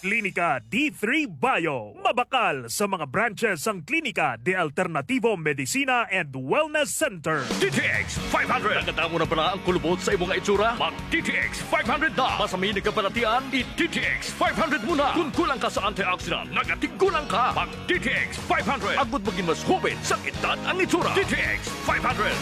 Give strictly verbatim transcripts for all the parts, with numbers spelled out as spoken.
Klinika D three Bio. Mabakal sa mga branches ang Klinika de Alternativo Medicina and Wellness Center. D T X five hundred. Nakadamo na bala ang kulubot sa imo nga itsura? Mag D T X five hundred na. Masami na kabalatian, i D T X five hundred mo na. Kung kulang ka sa antioxidant, nagatigulang ka. Mag D T X five hundred. Agud maging mas hubit sa edad ang itsura. D T X five hundred.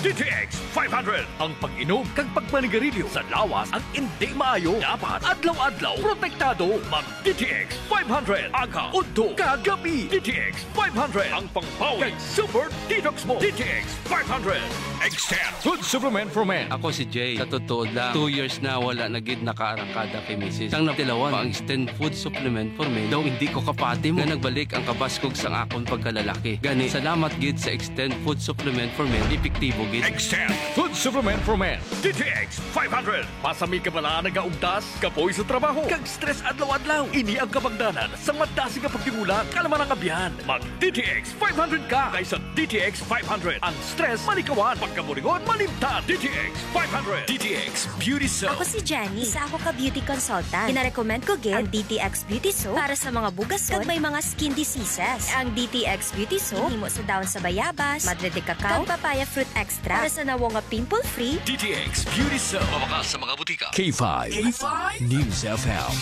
D T X five hundred. Ang pag-inom kag pagpanigarilyo sa lawas ang hindi maayo. Dapat adlaw-adlaw protektado. Mag D T X five hundred. Aga, udto, kag gabi. D T X five hundred. Ang pangbawi kag super detox mo. D T X five hundred. Extend Food Supplement for Men. Ako si Jay. Sa totoo lang, two years na wala na gid nakaarangkada kay misis. Sang natilawan pa ang Extend Food Supplement for Men, daw hindi ko kapati mo nga nagbalik ang kabaskog sang akon pagkalalaki. Gani, salamat gid sa Extend Food Supplement for Men. Epektibo gid. Extend Food Supplement for Men. D T X five hundred. Masami ka bala nagaugtas? Kapoy sa trabaho kag stress adlaw-adlaw. Ini ang kabangdanan sang madasig nga pagtimula kalaman ang abyan. Mag D T X five hundred ka kaysa D T X five hundred. Ang stress malikawan, pagkaburingon malimtan. D T X five hundred. D T X Beauty Soap. Ako si Jenny. Isa ako ka beauty consultant. Ginarecommend ko gid ang D T X Beauty Soap para sa mga bugason kag may mga skin diseases. Ang D T X Beauty Soap ginhimo sa dahon sa bayabas, madre de cacao, kag papaya fruit extract para sa nawong nga pimple-free. D T X Beauty Soap. Mabakal sa mga butika. K five K five News F M.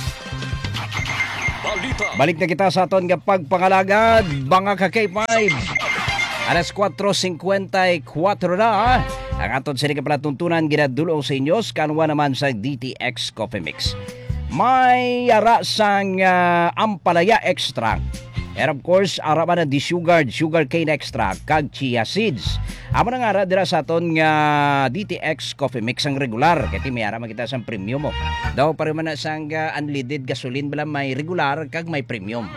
Balita. Balik na kita sa aton nga pagpangalagad, mga ka K five. Alas kuwatro singkwenta y kuwatro na, ha? Ang aton sini nga palatuntunan ginadul-ong sa inyo sa kanwa naman sa D T X Coffee Mix. May ara sang, ah, ampalaya extract. And of course, ara man ang desugared sugarcane extract kag chia seeds. Amo na nga ara dira sa aton nga D T X Coffee Mix ang regular. Kay ti may ara man kita sang premium mo. Daw pareho man na sang, ah, unleaded gasoline bala may regular kag may premium.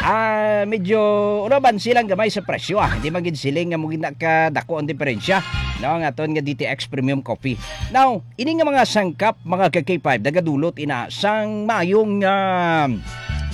Ah, medyo ulaban silang gamay sa presyo, ah. Hindi man gid siling nga mo gid na kadako ang diferensya, no, ang aton nga D T X Premium Coffee. Now, ini nga mga sangkap, mga ka K five, nagadulot ina sang maayong, ah,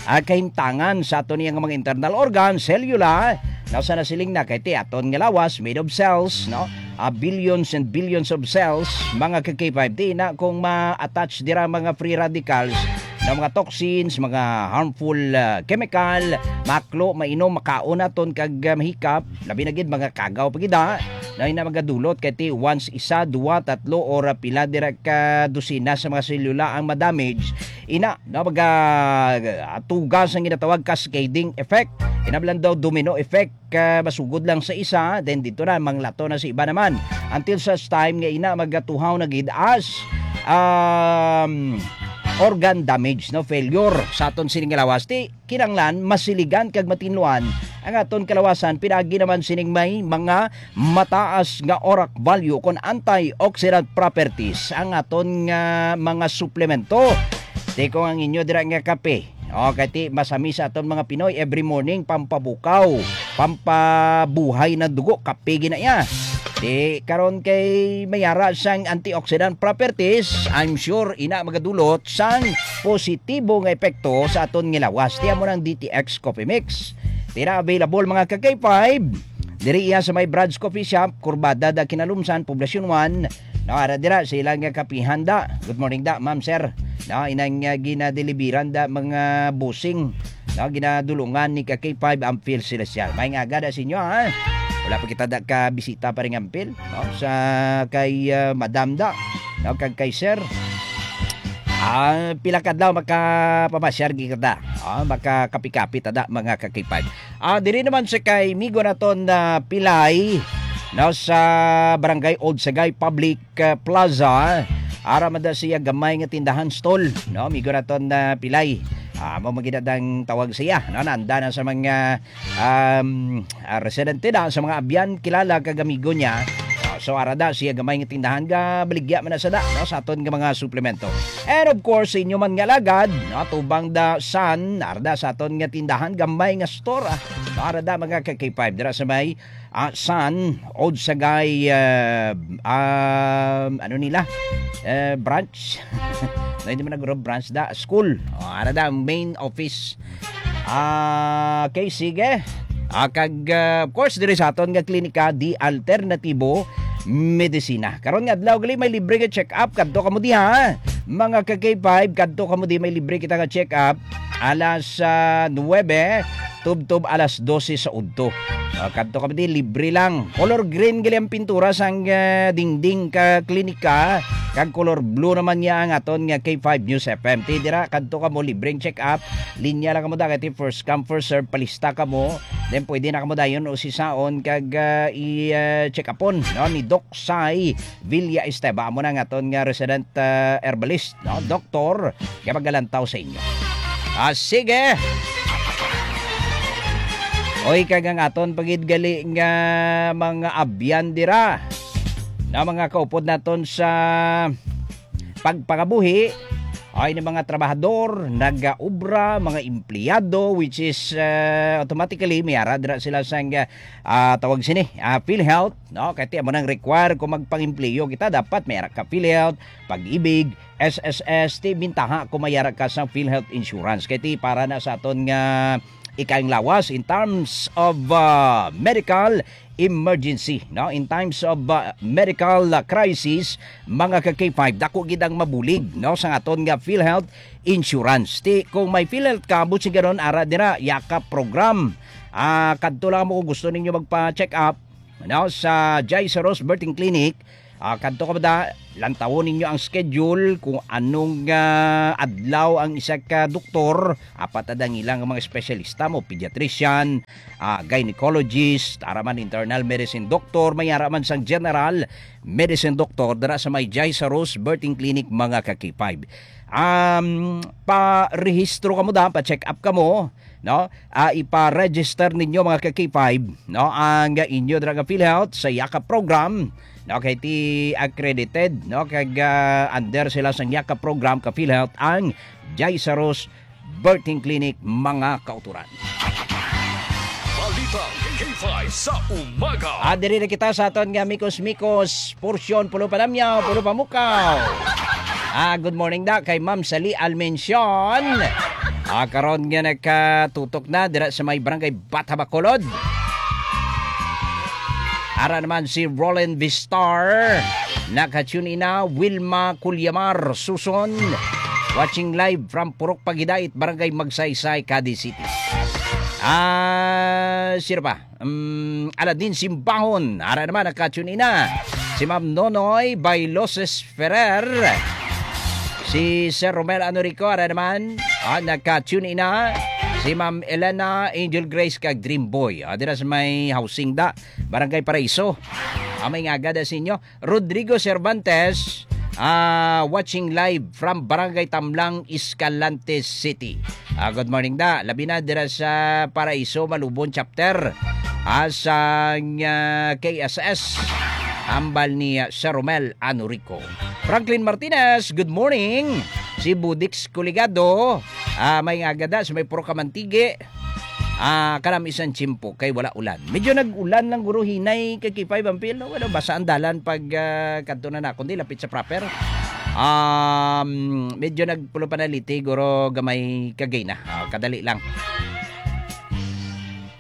ah, kahimtangan sa aton iya nga mga internal organ, selula, no, sa nasiling na kay ti aton nga lawas made of cells, no? Ah, billions and billions of cells, mga ka K five. Di na kung ma-attach dira mga free radicals na mga toxins, mga harmful, ah, chemical, maklo, mainom, makaon naton kag, ah, mahikap, labi na gid mga kagaw pa gid, ha, na ina magadulot kay ti once isa, duwa, tatlo, or, ah, pila dira ka dosina sa mga selula ang ma-damage, ina na maga, ah, tugas ang ginatawag cascading effect. Ina lang daw domino effect, ah, masugod lang sa isa, then dito na, manglato na sa iba naman. Until such time nga ina magatuhaw na gid as, um, organ damage, no, failure sa aton sining lawas. Ti kinanglan masiligan kag matinluan ang aton kalawasan, pinaagi naman sining may mga mataas nga ORAC value kon antioxidant properties ang aton nga mga suplemento. Ti kung ang inyo dira nga kape, o, kay ti masami sa aton mga Pinoy, every morning pampabukaw, pampabuhay na dugo, kape gina iya. Ti karon kay mayara sang antioxidant properties, I'm sure ina magadulot sang positibo nga epekto sa aton nga lawas. Ti amo nang D T X Coffee Mix. Ti na available, mga ka K five. Diri iya sa may Brad's Coffee Shop, Kurbada da Kinalumsan, Poblacion one. No, ara dira sa ilang nga kapihan da. Good morning da, ma'am, sir. No, inang, ah, ginadeliveran da mga busing. No, ginadulungan ni ka K five Ampil Celestial. May nga aga da sa inyo, ha? Wala pa kita da ka bisita pa rin Ampil, no? Sa kay, ah, Madam da, no? Kag kay Sir. Ah, pila ka adlaw makapamasyar gid kita. Ah, makakapi-kapi ta da, mga ka K five. Ah, diri naman sa kay migo naton na Pilay, no, sa Barangay Old Sagay Public, ah, Plaza. Ara man da siya gamay nga tindahan, stall, no, migo naton na Pilay. Ah, mo magidadang tawag siya, no, nanda na sa mga, um, ah, residente na, sa mga abyan, kilala kag amigo niya. Ah, so ara da siya gamay nga tindahan, ga baligya man na sa da, no, sa aton nga mga suplemento. And of course, sa inyo man nga alagad, no, tubang da san, ara da sa aton nga tindahan, gamay nga store, ah. Ara da, mga ka K five, dira sa may, ah, san, Odsagay, ah, um, ano nila? Eh, branch. No, hindi man nagro branch da, school. O, ara da, ang main office. Ah, okay, sige. Ah, kag, ah, of course, diri sa aton nga klinika, di alternatibo medisina. Karon nga adlaw gali may libre nga check-up, kadto kamo diha. Mga ka K five, kadto kamo di may libre kita nga check-up alas, ah, nuwebe, tubtob alas dose sa udto. Ah, kadto kamo di, libre lang. Color green gali ang pintura sang, ah, dingding ka klinika, kag color blue naman niya ang aton nga K five News F M. Ti dira, kadto kamo, libreng check-up. Linya lang kamo da, kay ti first come, first serve, palista kamo. Then pwede na kamo dayon usisaon kag, ah, i, ah, check-upon, no, ni Doc Sai Villa Esteva, amo na ang aton nga resident, ah, herbalist, no, doktor, nga magalantaw sa inyo. Ah, sige. Oy, kag ang aton pa gid gali nga mga abyan dira, na mga kaupod naton sa pagpangabuhi, ay ni mga trabahador, nagaobra, mga empleyado, which is, ah, automatically may ara dira sila sang, ah, tawag sini, ah, PhilHealth, no? Kay ti amo nang require kung magpang-empleyo kita, dapat may ara ka PhilHealth, Pag-ibig, S S S, ti bintaha kung may ara ka sa PhilHealth Insurance. Kay ti para na sa aton nga ikaayong lawas in terms of, ah, medical emergency, no? In times of, ah, medical, ah, crisis, mga ka K five, dako gid ang mabulig, no, sa aton nga PhilHealth Insurance. Ti kung may PhilHealth ka, buot silingon, ara dira, Yakap program. Ah, kadto lang mo kung gusto ninyo magpa-check up, no, sa Jai Saros Birthing Clinic. Ah, kadto ka ba da? Lantawon ninyo ang schedule kung anong, ah, adlaw ang isa ka doktor. Apat na dangilang mga espesyalista mo, pediatrician, ah, gynecologist, ara man internal medicine doctor, may ara man sang general medicine doctor dira sa may Jai Saros Birthing Clinic, mga ka K five. Um, pa-rehistro kamo da, pa-check up kamo, no? Ah, ipa-register ninyo, mga ka K five, no, ang inyo dira nga PhilHealth sa Yakap program, no, kay ti accredited, no, kag, ah, under sila sang Yakap program ka PhilHealth ang Jai Saros Birthing Clinic, mga kauturan. Balita K five sa umaga. Ah, diri na kita sa aton nga Mikos-Mikos porsyon, Pulo Panamyaw, Pulo Pamukaw. Ah, good morning da kay Ma'am Sali Almencion. Ah, karon nga nagkatutok na dira sa may barangay Bata Bacolod. Ara naman si Roland Vistar. Naka-tune in na, Wilma Culyamar Suson. Watching live from Purok Pagidait, Barangay Magsaysay, Cadiz City. Ah, sino pa? Um, Aladin Simbahon, ara naman, naka-tune in na. Si Ma'am Nonoy Bailoses Ferrer. Si Sir Romel Anorico, ara naman, ah, naka-tune in na. Si Ma'am Elena Angel Grace kag Dream Boy. Ah, dira sa may housing da, Barangay Paraiso. Ah, may nga agad sa inyo. Rodrigo Cervantes, ah, watching live from Barangay Tamlang, Escalante City. Ah, good morning da. Labi na dira sa Paraiso, Malubon Chapter. Ah, sa, ah, K S S. Hambal ni, ah, Sir Romel Anorico. Franklin Martinez, good morning. Si Budix Coligado, ah, may nga agad da sa may Purok Kamantigi. Ah, kanami sang tiyempo kay wala ulan. Medyo nag-ulan lang guro hinay kay K five Ampil, no? Wala basa ang dalan pag, ah, kadto na na, kundi lapit sa proper. Um, medyo nagpulo panaliti, guro gamay kagay na. Ah, kadali lang.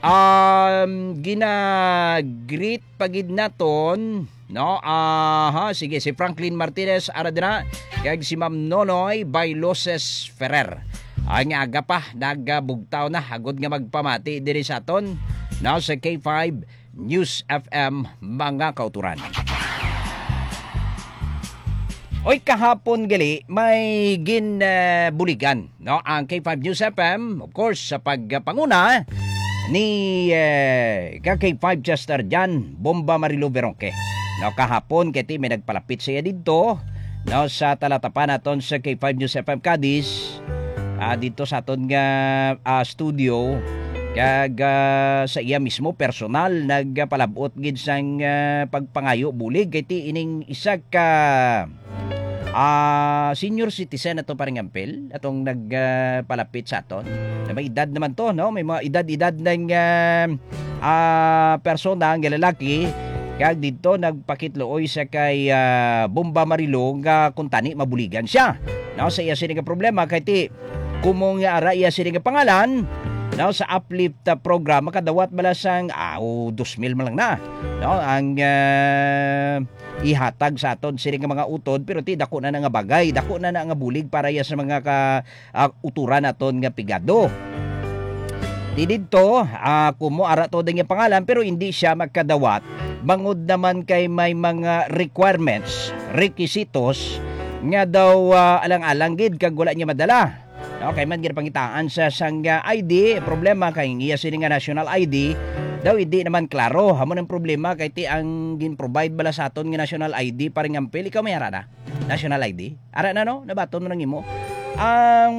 Um, gina-greet pa gid naton, no? Aha, sige, si Franklin Martinez, ara dira, kag si Ma'am Nonoy Bailoses Ferrer. Ang aga pa, nagabugtaw na, agod nga magpamati diri sa aton, no, sa K five News F M, mga kauturan. Oy, kahapon gali, may gin, eh, buligan, no, ang K five News F M, of course, sa pagpanguna ni, eh, ka K five Chester Jan Bomba Marilo Veronque. No, kahapon, kay ti may nagpalapit sa iya didto, no, sa talatapan naton sa K five News F M Cadiz, ah, didto sa aton nga, ah, studio, kag, ah, sa iya mismo personal nagpalab-ot gid sang, ah, pagpangayo bulig kay ti ining isa ka, ah, senior citizen ato, Paring Ampil, atong nag, ah, palapit sa aton. Na may edad naman to, no? May mga edad-edad ng, ah, ah, persona, ang lalaki, kag didto nagpakitluoy sa kay, ah, Bomba Marilo nga kung tani mabuligan siya. No, sa iya sini nga problema kay ti kumong nga ara iya sini nga pangalan, no, sa Uplift, ah, program, makadawat bala sang, ah, o, dos mil man lang na, no, ang, ah, ihatag sa aton sini nga mga utod, pero ti dako na na nga bagay, dako na na nga bulig para ya sa mga ka, ah, uturan naton nga pigado. Ti didto, ah, kumo ara to din nga pangalan, pero hindi siya magkadawat bangod naman kay may mga requirements, requisitos nga daw, ah, alang-alang gid kag wala niya madala. Okay man gid pangitaan sa sang, ah, I D, problema kay ang iya sini nga national I D daw hindi naman klaro. Amo nang problema kay ti ang gin-provide bala sa aton nga national I D, paring Ampil, ikaw may ara na national I D? Ara na, no? Nabaton mo nang imo. Ang,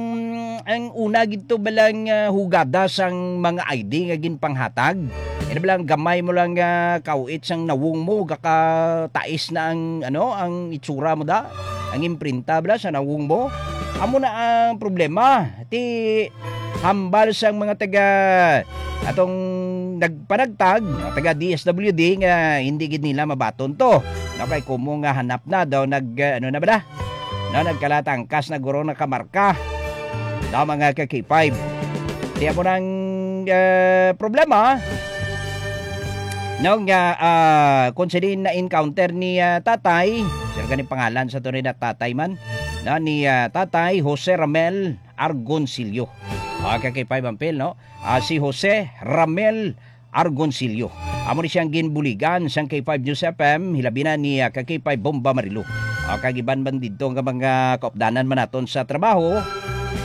ang una gid to balang, ah, hugada sang mga I D nga ginpanghatag. Ina balang gamay mo lang nga kauit sang nawong mo, gakatais na ang, ano, ang itsura mo da, ang imprinta bala sa nawong mo. Amo na ang problema. Ti hambal sang mga taga atong nagpanagtag, mga taga D S W D nga hindi gid nila mabaton to. No, kay kumo nga hanap na daw nag, ah, ano na ba na? No, nagkalatangkas na guro nakamarka. No, mga ka K five. Kaya mo nang, ah, problema, no, nga, ah, kung sini na-encounter ni, ah, tatay, sir, gani pangalan sa tunay na tatay man, no, ni, ah, tatay Jose Ramel Argoncillo. Ah, ka K five Ampil, no? Ah, si Jose Ramel Argoncillo. Amo ni siyang ginbuligan sang K five News F M, hilabi na ni, ah, ka K five Bomba Marilo. Ah, kag iban man didto nga mga kaupdanan man naton sa trabaho,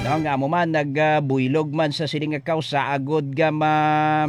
no, nga amo man nagbuylog man sa sini nga kausa agod nga ma-,